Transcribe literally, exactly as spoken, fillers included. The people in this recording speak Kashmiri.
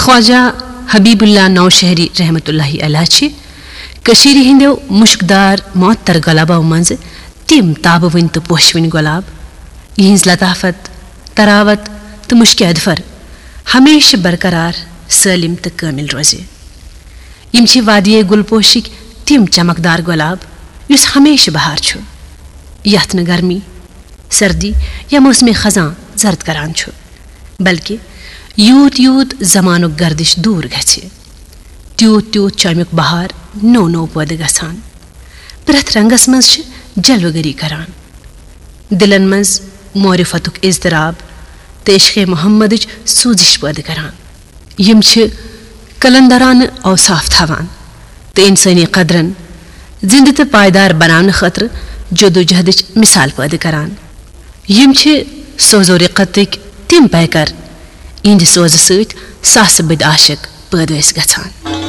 خواجہ حبیب اللہ نوشہری رحمت اللہ علیہ چھِ کٔشیٖرِ ہٕنٛدیو مُشکدار معطر گۄلابو منٛزٕ تِم تابہٕ وٕنۍ تہٕ پوشہٕ وٕنۍ گۄلاب، یِہٕنٛز لطافت، تراوت تہٕ مُشکہِ اظفر ہمیشہٕ برقرار، سٲلِم تہٕ کٲمِل روزِ۔ یِم چھِ وادی گُلپوشِک تِم چمکدار گۄلاب یُس ہمیشہٕ بہار چھُ، یتھ نہٕ گرمی، سردی یا موسمِ خزاں زرد کران چھُ، بلکہِ یوٗت یوٗت زمانُک گردش دوٗر گژھِ، تیوٗت تیوٗت چھُ امیُک بہار نوٚو نوٚو پٲدٕ گژھان۔ پرٛٮ۪تھ رنگس منٛز چھِ جلوٕ گری کران۔ دِلن منٛز معرفتُک اضطراب تہٕ عشقِ محمدٕچ سوزش پٲدٕ کران۔ یِم چھِ قلندرانہٕ اوصاف تھاوان تہٕ انسٲنی قدرن زندٕ تہٕ پائیدار بناونہٕ خٲطرٕ جدوجہدٕچ مثال پٲدٕ کران۔ یِم چھِ سوز و رقتٕکۍ تِم پیکر، یِہنٛدِ سوزٕ سۭتۍ ساسہٕ بٔدۍ عاشق پٲدٕ ٲسۍ گژھان۔